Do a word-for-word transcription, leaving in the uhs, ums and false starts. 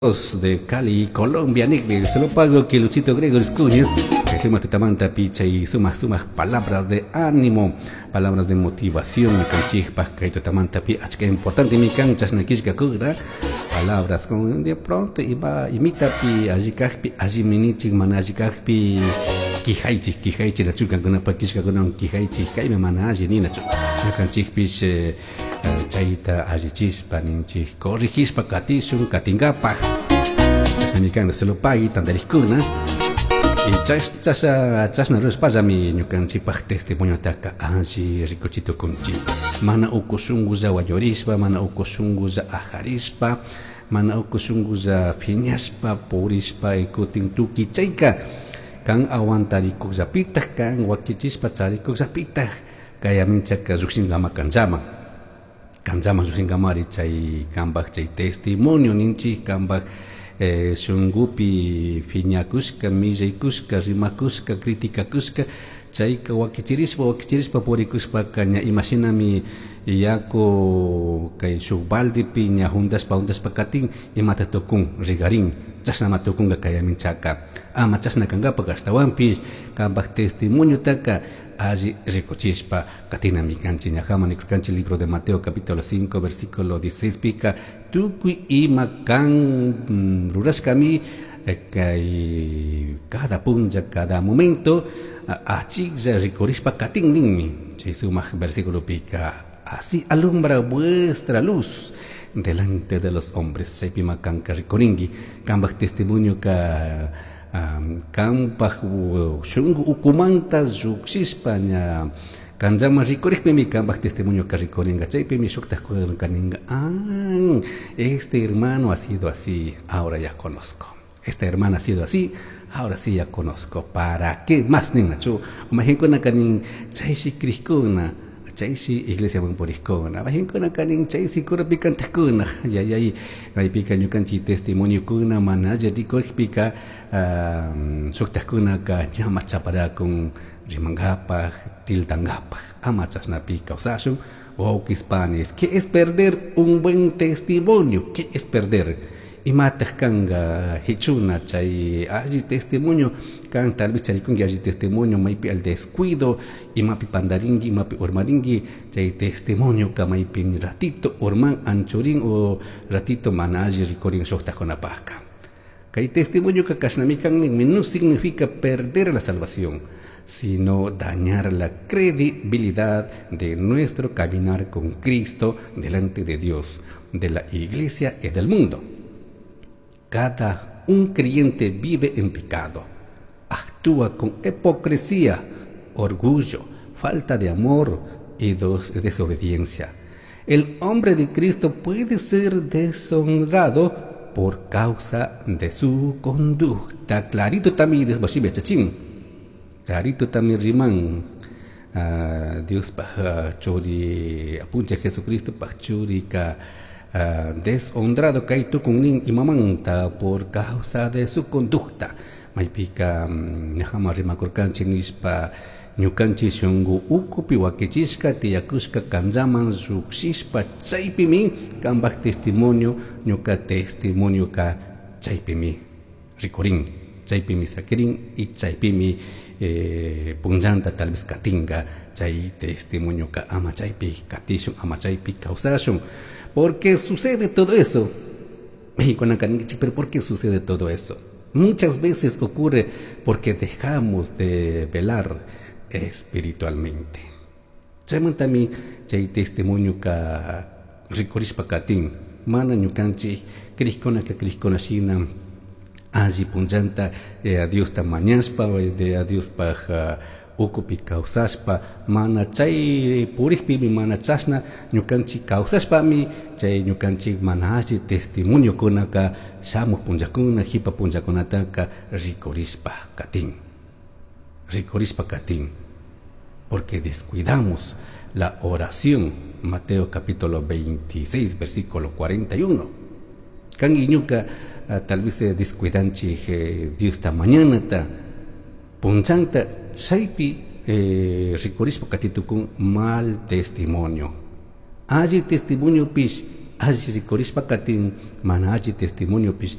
De Cali, Colombia, Nick, se lo pago que Luchito Gregorio Escuñez, que suma tutamanta picha y suma suma palabras de ánimo, palabras de motivación, ñukanchikpaj kay tutamantapi achka importante mi kan chashna killkakura, palabras con de pronto iba imitapi alli kajpi allimi nichik mana alli kajpi quijaychik quijaychik nachu kankunapaj killkakunawan quijaychik kaymi mana alli ninachu ñukanchikpish eh, chayta allichishpa ninchik corregishpa katishun katinkapaj chashnami kan solo pagui tantarikkuna y chasha chashna rurashpallami ñukanchikpaj testimoniotaka alli rikuchi tukunchik mana uku shunkulla wañurishpa, mana uku shunkulla ajarishpa, mana uku shunkulla phiñashpa purishpa kutin tukuy chayka kan aguantarikukllapitaj kan wakichishpa charikukllapitaj kay aminchaka llukshinkama kanllaman kanllaman llukshinkamari chay kanpaj chay testimonio ninchik kanpaj eh, shunkupi phiñakushka millaykushka rimakushka criticakushka chayka wakichirishpa wakichirishpa purikushpaka ña imashinami yaku kay shuk baldepi ña juntashpa juntashpa katin imata tukun rigarin chashnama tukunka kay aminchaka ama chashna kankapak ashtawanpish kanpaj testimoniotaka alli rikuchishpa katinami kanchik ñajaman nikurkanchik libro de Mateo capítulo cinco versículo dieciséis pika tukuy ima kan mm, rurashkami kay cada punlla cada momento achiklla rikurishpa katin ninmi chay sumak versículo pika así alumbra vuestra luz delante de los hombres chaypima kanka rikurinki kanpaj testimonio ka um, kanpaj shunku ukumanta llukshishpa ña kanllaman rikurikpimi kanpaj testimonio ka rikurinka chaypimi shuktaj kaninka ah, este hermano ha sido así, ahora ya conozco, esta hermana ha sido así, ahora sí ya conozco. ¿Para qué más ninachu? Majinkuna kanin chayshi crishkuna, chayshi iglesiaman purikkuna, majinkuna kanin chayshi curapi cantajkuna, yayay maypika ñukanchik testimoniokuna mana alli rikurikpika shuktajkunaka ñama chaparakun rimankapaj tiltankapaj ama chashnapi kawsashun wawkis panis. ¿Qué es perder un buen testimonio? ¿Qué es perder? Imataq kanka hichuna chay alli testimonio kan tal vez charikunki alli testimonio maypi al descuido imapi pandarinki imapi urmarinki chay testimonio ka maypi ratito urman anchurin o ratito mana alli rikurin shuktajkunapajka kay testimonio ka kashnami kan ninmi no significa perder la salvación, sino dañar la credibilidad de nuestro caminar con Cristo delante de Dios, de la iglesia y del mundo. Cada un creyente vive en pecado, actúa con hipocresía, orgullo, falta de amor y desobediencia. El hombre de Cristo puede ser deshonrado por causa de su conducta. Clarito también es chachín. Clarito también riman. Uh, Dios paj churi apunchik Jesucristo paj churika uh, deshonrado kay tukun nin imamanta por causa de su conducta maypika ñajama rimakurkanchik nishpa ñukanchik shunku ukupi wakichishka tiyakushka kanllaman llukshishpa chaypimi kanpaj testimonio ñuka testimonio ka chaypimi rikurin chaypimi sakirin y chaypimi eh, punllanta tal vez katinka chay testimonio ka ama chaypi katishun ama chaypi kawsashun. ¿Por qué sucede todo eso? Pero ¿por qué sucede todo eso? Muchas veces ocurre porque dejamos de velar espiritualmente. Chaymantami chay testimonio ka rikurishpa katin mana ñukanchik crishkunaka crishkuna shina alli punllanta eh, Diosta mañashpa de a Diospaj uh, ukupi kawsashpa mana chay purikpimi mana chashna ñukanchik kawsashpami chay ñukanchik mana alli testimoniokunaka shamuj punllakuna jipa punllakunataka rikurishpa katin rikurishpa katin porque descuidamos la oración. Mateo capítulo veintiséis versículo cuarenta y uno kan iñuka uh, tal vez eh, descuidanchik eh, Diosta mañanata punchanta chaypi eh, rikurishpa katitukun mal testimonio alli testimonio pish alli rikurishpa katin mana alli testimonio pish.